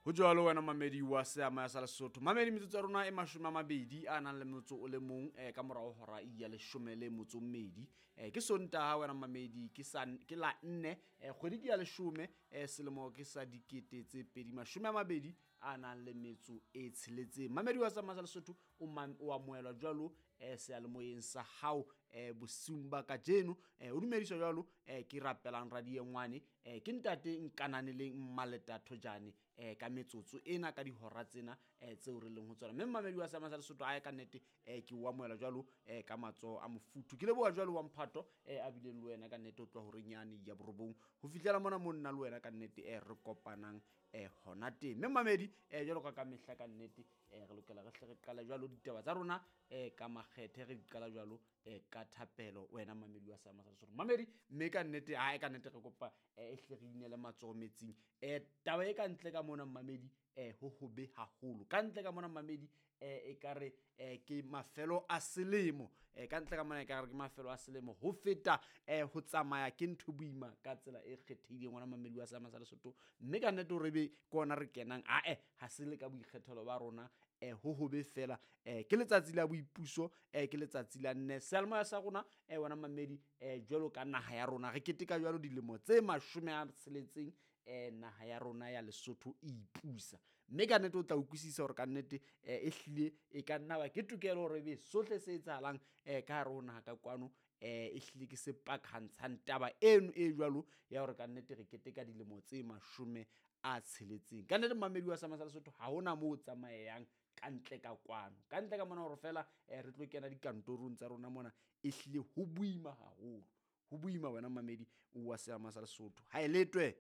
Ho jwalo wena mamedi wa seama sa Lesotho. Mamedi, metsotso ya rona e 20 a nang le motso o le mong ka morao hora ya 12. Ke Sontaha wena mamedi, ke ke la 4, kgwedi ke ya 10, selemo ke sa 2026 a nang le metso e 6. Mamedi wa seama sa Lesotho o amohelwa jwalo seyalemoyeng sa hao bosiung ba kajeno. O dumediswa jwalo ke rapelang radiengwane, ke ntate Nkananeleng Mmaleta Thojane ka metsotso ena, ka dihora tsena tseo re leng ho tsona. Mme mamedi wa seama sa Lesotho ae ka nnete ke o amohela jwalo ka matsoho a mofuthu. Ke leboha jwalo wa mphato a bileng le wena ka nnete ho tloha horeng yane ya 9 ho fihlela mona mo nna le wena ka nnete re kopanang hona teng. Mme mamedi jwalo ka mehla ka nnete re lokela re hle re qale jwalo ditaba tsa rona ka makgethe, re di qala jwalo ka thapelo wena mamedi wa seama sa Lesotho. Mamedi, mme ka nnete ae ka nnete re kopa e hle re inele matsoho metsing. Taba e ka ntle ka mona mamedi ho hobe haholo. Ka ntle ka mona mamedi e ka re ke mafelo a selemo. Ka ntle ka mona e ka re ke mafelo a selemo. Ho feta ho tsamaya ke ntho boima ka tsela e kgethehileng wena mamedi wa seama sa Lesotho. Mme ka nnete hore ebe ke ona re kenang ae ha se le ka boikgethelo ba rona ho hobe fela. Ke letsatsi la boipuso, ke letsatsi la nne. Seyalemoya sa rona wena mamedi jwalo ka naha ya rona re keteka jwalo dilemo tse 60 naha ya rona ya Lesotho e ipusa. Mme ka nnete o tla utlwisisa hore ka nnete e hlile e ka nna ba ke tokelo hore ebe sohle se etsahalang ka hare ho naha ka kwano e hlile ke se pakantshang taba eno e jwalo ya hore ka nnete re keteka dilemo tse 60. Ka nnete mamedi wa seama sa Lesotho ha hona moo o tsamayang ka ntle ka kwano. Ka ntle ka mona hore fela re tlo kena dikantorong tsa rona mona e hlile ho boima haholo. Ho boima wena mamedi wa seama sa Lesotho. Ha e letwe.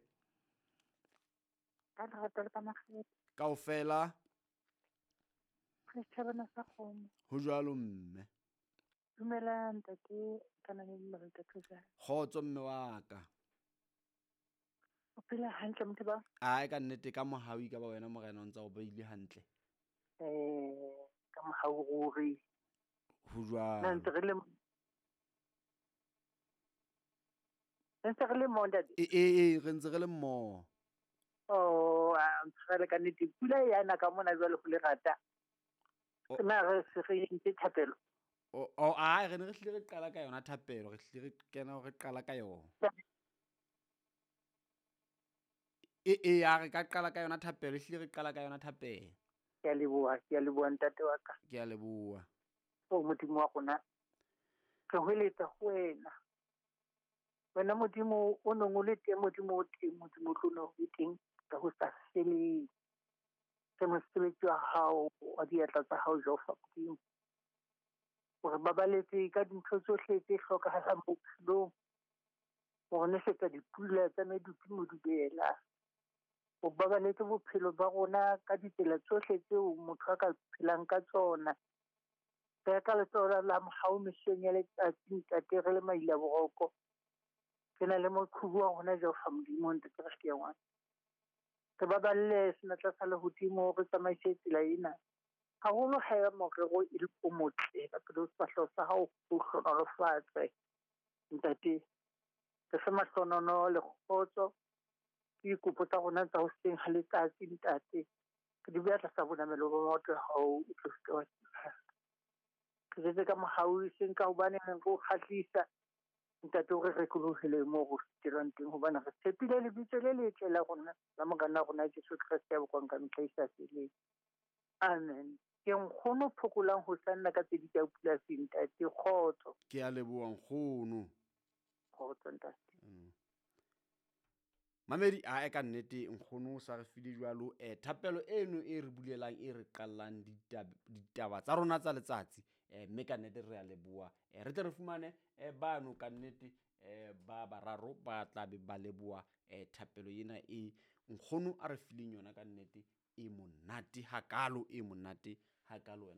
Ka lerato le ka makgethe. Kaofela. Re tjhabana sa kgomo. Ho jwalo mme. Dumela ntate Nkananele Mmaleta Thojane. Kgotso mme wa ka. O phela hantle motho ba? Ae ka nnete ka mohau ka ba wena morena o ntsa o beile hantle. Ka mohau ruri. Ho jwalo. Na ntse re le ntse re le mmoho ntate? E re ntse re le mmoho. Oh, a ntshwarele ka nnete. Pula e yana ka mona jwale ho lerata. Na re se re entse thapelo? O ae re ne re hlile re qala ka yona thapelo, re hlile re kena re qala ka yona. E ya re ka qala ka yona thapelo, hlile re qala ka yona thapelo. Ke a leboha, ke a leboha ntate wa ka. Ke a leboha. O Modimo wa rona, re hweletsa ho wena. Wena Modimo o nong o le teng, Modimo o teng, Modimo o tlo nna o le teng ka ho sa feleng. Ke mosebetsi wa hao, wa diatla tsa hao Jehova Modimo. Hore babaletse ka dintho tsohle tse hlokahalang bophelong. Hore nesetsa dipula tsa medupi modubela. O babaletse bophelo ba rona ka ditsela tsohle tseo motho a ka phelang ka tsona. Re ka letsoho la mohau mehleng ya letsatsi ntate re le maila boroko. Re na le moqhubu wa rona Jehova Modimo ntate re ke ngwana. Re baballe senatla sa lehodimo re tsamaise tsela ena. Haholo haeba morero e le o motle ka pele ho sefahleho sa hao o hlohonolofatse. Ntate, re fe mahlonono le kgotso. Ke dikopo tsa rona tsa hoseng ha letsatsi ntate. Re di beha tlasa bonamelo ba maoto a hao o tlo seke wa tloha. Re jetse ka mohau e seng ka hobane re o kgahlisa. Ntate o re rekolohele moo re fetelwang teng hobane re tshepile lebitso le letle la rona la Morena rona Jesu Kreste ya bokwang ka mehla e sa feleng. Amen. Ke nkgono phokolang ho sanna ka tse di tsa polasing ntate. Kgotso. Ke a leboha nkgono. Kgotso ntate. Mamedi ae ka nnete nkgono o sa re file jwalo thapelo eno e re bulelang e re qallang ditaba tsa rona tsa letsatsi. Mme ka nnete re a leboha. Re tle re fumane bano ka nnete ba bararo ba tla be ba leboha thapelo ena e nkgono a re fileng yona ka nnete e monate hakalo, e monate hakalo wena.